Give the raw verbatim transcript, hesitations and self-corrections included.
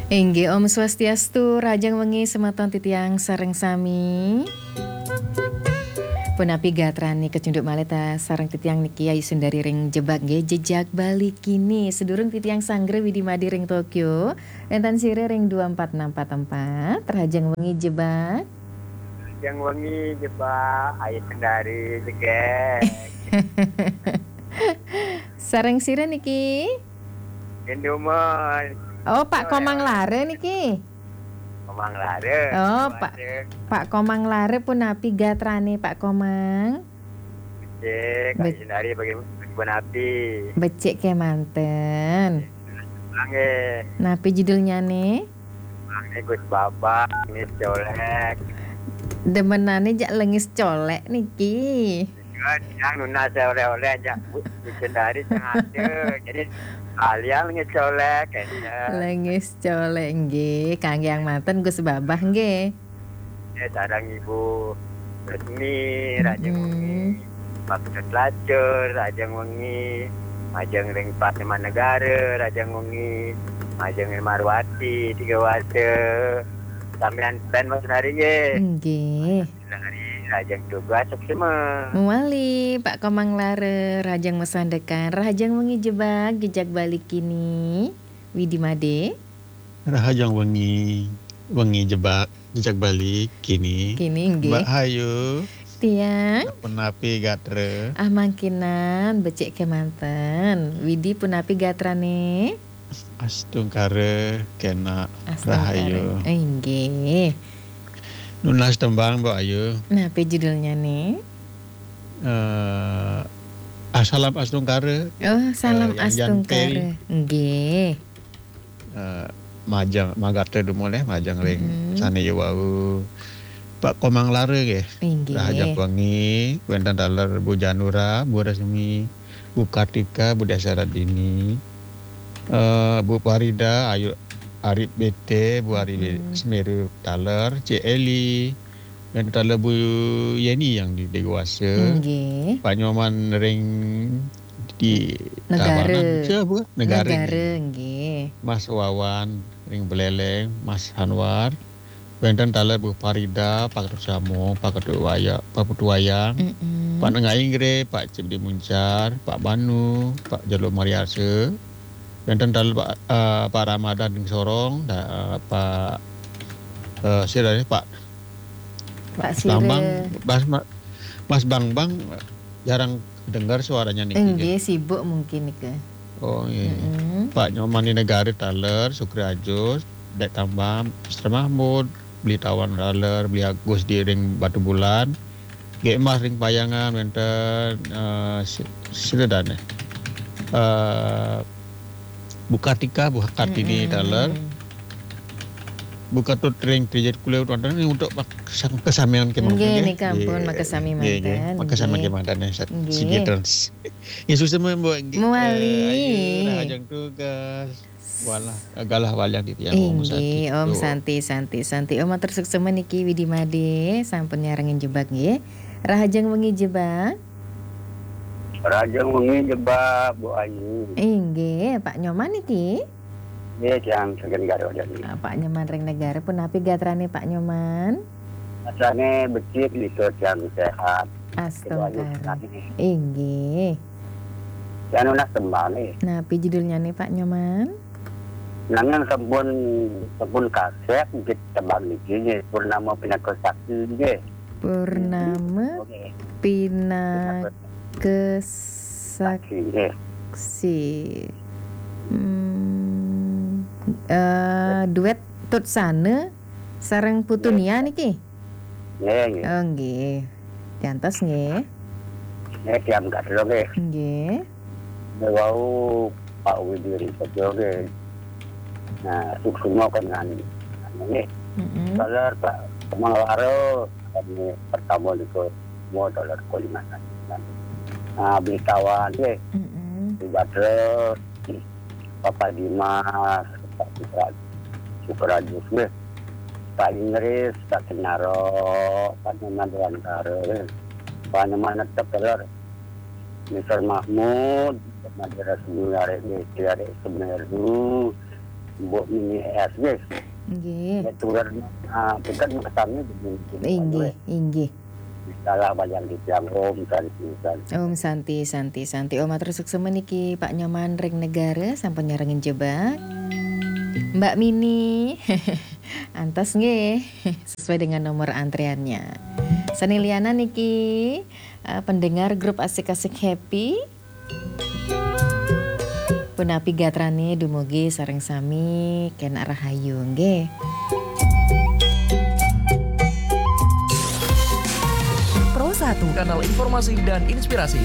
Inggih, Om Swastiastu, rahajeng wengi semeton titiang sareng sami. Punapi gatrane kecunduk malih ta sareng titiang niki Ayu Sundari ring Jebak nggih, Jejak Bali Kini. Sedurung titiang sanggra Widi Made ring Tokyo, wenten sira ring dua empat enam empat empat, rahajeng wengi Jebak. Rahajeng wengi Jebak, Ayu Sundari Jegek. Sareng sira niki? Indoman. Oh, Pak Komang Lare niki. Komang Lare. Oh, Pak, Pak Komang Lare punapi gatrane, Pak Komang? Becik, Kak Be- Sundari bagi punapi? Becik kemanten. Nggih. Napi judulnyane? Nggih, Gus Babah, Lengis Colek. Demenane jak Lengis Colek niki. Yang nunas oleh-oleh aja, Bu, Sundari sing ada. Jadi, kalian Lengis Colek, kayaknya. Lengis Colek, nggih. Kangge yang manten, Gus Babah, nggih. Ya, sareng Ibu Resmi, rahajeng wengi. Pak Ketut Lacur, rahajeng wengi. Majeng ring Pak Nyoman Negara, rahajeng wengi. Majeng ring Marwati, Tiga Wasa. Sampeyan pen Mas Nari, nggih. Nggih. Rahajeng tugas, suksma. Mawali, Pak Komang Lare, rahajeng masandekan, rahajeng wengi Jebak, Jejak Bali Kini. Widi Made. Rahajeng wengi, wengi Jebak, Jejak Bali Kini. Kini, nggih. Mbak Ayu. Tiang. Punapi gatra? Ah, mangkinan, becik kemanten. Widi punapi gatrane? Astungkara kena. Astungkara. Rahayu. Eh, nggih. Nunas tembang, Mbak Ayu. Napi judulnyane? Eh, ah, Salam Astungkara. Oh, Salam Astungkara. Eh, yang Jan Perry. Nggih. Eh, majeng, magatra dumun, eh, majeng ring sane wau. Pak Komang Lare nggih. Inggih. Rahajeng wengi, wenten taler Bu Janura, Bu Resmi, Bu Kartika, Bu Desa Radini, eh, Bu Farida, Ayu, Arif B T, Bu Ari Semeru taler, Cik Eli, wenten taler Bu Yeni yang di Dewasa. Inggih. Pak Nyoman ring di Negara. Tabanan, siapa? Negara. Negara, nggih. Mas Wawan ring Buleleng, Mas Anwar. Wenten taler Bu Farida, Pak Ketut Samo, Pak Ketut Waya-, Pak Putu Wayang, Pak Nengah Inggre, Pak Cip di Muncar, Pak Banu, Pak Jalo Mariasa. Wenten taler Pak, eh, Pak Ramadan ring Sorong, da-, eh, Pak, eh, sira, Pak Pak Sira. Bambang, Mas, Ma-, Mas Bambang jarang dengar suaranya niki, nggih, nggih. Sibuk mungkin nika. Oh, nggih. Pak Nyoman di Negara taler, Sukri Ajus, Dek Tambang, Mister Mahmud, Beli Tawan taler, Beli Agus di ring Batubulan, Gek Mas ring Payangan, wenten, eh, si-, sira dane. Eh, Bu Kartika, Bu Kartini taler. Bu Ketut ring Trijat Kuliah wonten untuk kesam-, kesamian kemawon, nggih, nggih, nika ampun, nggih, makasami manten, nggih. Makasami manten, nggih. Sat-, sigi trans. Nggih, suksma, Mbok, nggih. Mawali. Eh, ayo, rahajeng tugas. Walah, galah walian titiang, Om Santi. Inggih, Om Santi, Santi, Santi. Om matur suksma niki Widi Made, sampun nyarengin Jebak, nggih. Rahajeng wengi Jebak. Rahajeng wengi Jebak, Bu Ayu. Inggih, Pak Nyoman niki? Nggih, tiang saking Garut jani. Ah, Pak Nyoman ring Negara, punapi gatrane Pak Nyoman? Gatrane becik, nika tiang sehat. Astungkara. Inggih. Tiang nunas tembang, nggih. Napi judulnyane, Pak Nyoman? Nanging sampun, sampun kasep nggih tembang niki nggih, Purnama Pinaka Saksi nggih. Purnama Oke. Pinaka Saksi. Saksi nggih. Hmm, eh, duet Tut Sana sareng Putu Nia niki? Nggih, nggih. Oh, nggih. Jantos nggih. Nggih, tiang gatra nggih. Nggih. Wau Pak Widi Risejo nggih. Nah, suksma kan nggih. Taler Pak Komang Lare, kami pertama niku mau taler Kalimantan. Nah, Beli Tawan nggih. Di Badra, Bapak Dimas, Pak Sukra-, Sukrajus nggih. Pak Inggris, Pak Kenaro, Pak Nyoman Dewantara nggih. Pak Nyoman Tepeler, Mister Mahmud, Madura Sumber, Arek Besi, Arek Semeru, Mbok Mini S G. Nggih. Nek turun, ah, bukan kesannya begini. Inggih, inggih. Salah banyak di tiang. Om Santi, Santi. Om Santi, Santi, Santi. Om, matur suksma niki Pak Nyoman ring Negara sampun nyarengin jebak. Mbak Mini. Antos nggih. Sesuai dengan nomor antriannya. Sane lianan niki, eh, pendengar grup Asik-Asik Happy. Punapi gatrane, dumugi sareng sami kenak rahayu nggih. Pro satu. Kanal informasi dan inspirasi.